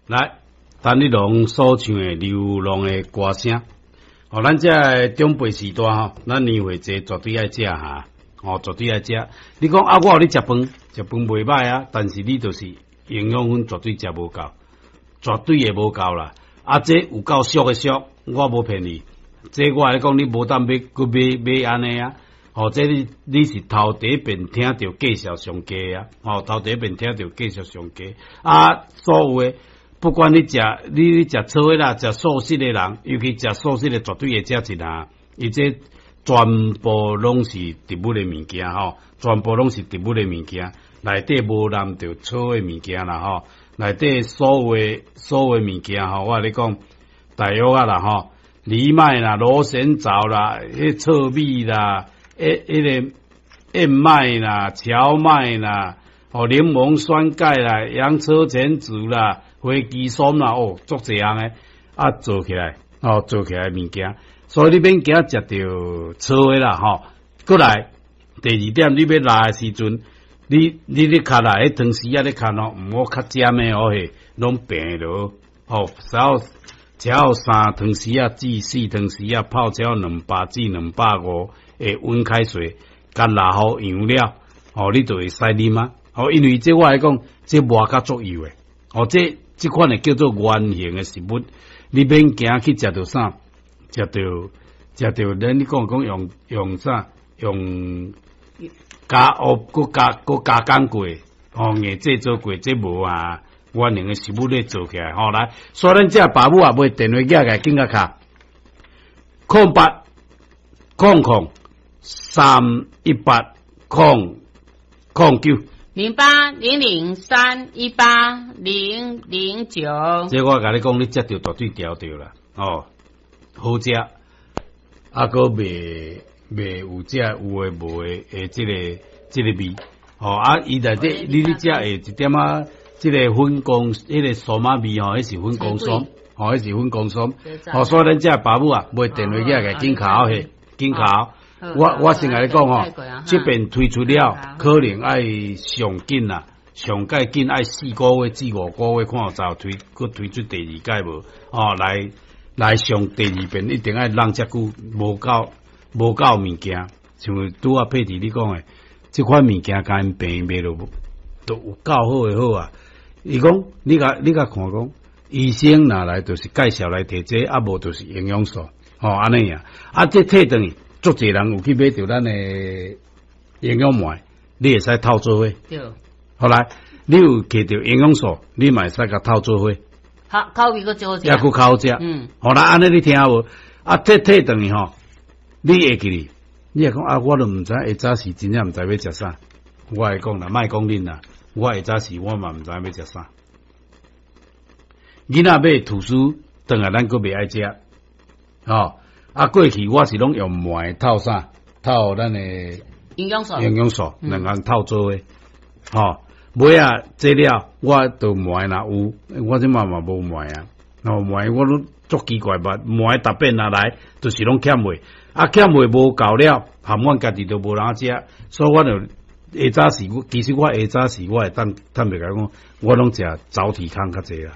來，陳立農所唱的流浪的歌聲，哦，咱這个長輩時代吼，咱年歲濟絕對愛食哈，哦，絕對愛食。你講啊，我予你食飯，食飯袂䆀啊，但是你就是營養分絕對食無夠，絕對會無夠啦。啊，這有夠俗的俗，我無騙你。這我來講，你無當買，閣買買按呢啊。哦，這你是頭第一遍聽著價數上低啊！哦，頭第一遍聽著價數上低啊！所有的不管你食你食草的啦，食素食的人，尤其食素食的，絕對會食一下。伊這全部攏是植物的物件吼，全部攏是植物的物件，內底無含著草的物件啦吼，內底所有的所有的物件吼，我共你講，大約啊啦吼，藜麥啦、螺旋藻啦、彼糙米啦。彼個燕麥啦、蕎麥啦、哦檸檬酸鈣啦、洋車前子啦、火雞酸啦，哦，足濟項的啊，做起來，哦，做起來物件，所以你免驚食著草的啦，吼。閣來第二點，你欲抐的時陣，你咧較來，彼湯匙仔咧較哦，毋好較尖的哦，嘿，攏平落，哦，然後只要3湯匙仔至4湯匙仔泡超200至250的溫開水，共抐予溶了，哦，你就會使啉啊。哦，因為這我來講，這磨較足油的，哦，這這款的叫做原型的食物，你免驚去食著啥，食著食著，咱你講講用用啥，用加哦，閣加閣加工過，哦，硬製作過，這無啊，原型的食物咧做起來，吼來，所以咱這爸母啊，買電話寄來緊甲敲，0800318009。 0800318009。這我共你講，你食著絕對調著啦，哦，好食，啊，閣袂袂有這有的無的的這个這个味，哦，啊，伊內底你咧食會一點仔，這个粉公，彼个酸仔味吼，彼是粉公酸，吼，彼是粉公酸，哦，所以咱這爸母啊，買電話寄來緊敲嘿，緊敲。我先共你講吼，這邊推出了，可能愛上緊啦，上蓋緊愛4個月至5個月，看有就推，閣推出第二屆無？哦，來來上第二遍，一定愛弄遮久，無夠無夠物件，像拄仔佩蒂你講的，這款物件共𪜶病賣落，都有夠好的好啊！伊講，你共你共看講，醫生若來就是介紹來提這個，啊無就是營養素，吼按呢啊，啊這提轉去。足濟人有去買著咱的營養麥，你會使透做伙。對。後來你有摕著營養素，你嘛會使共透做伙。好，口味閣較好食。抑閣較好食。好啦，按呢你聽無？啊，提提轉去吼，你會記哩？你會講啊，我都毋知下早時真正毋知欲食啥。我會講啦，莫講恁啦，我下早時我嘛毋知欲食啥。囡仔買吐司，轉來咱閣袂愛食，吼。啊，過去我是攏用麥透啥，透咱的營養素，營養素兩項透做伙，吼，尾仔這了，我就麥若有，我這馬嘛無麥啊，哦麥我攏足奇怪吧，麥逐遍若來，就是攏欠賣，啊欠賣無夠了，含阮家己都無人食，所以我就下早時，其實我下早時我會當坦白共講，我攏食早提康較濟啦。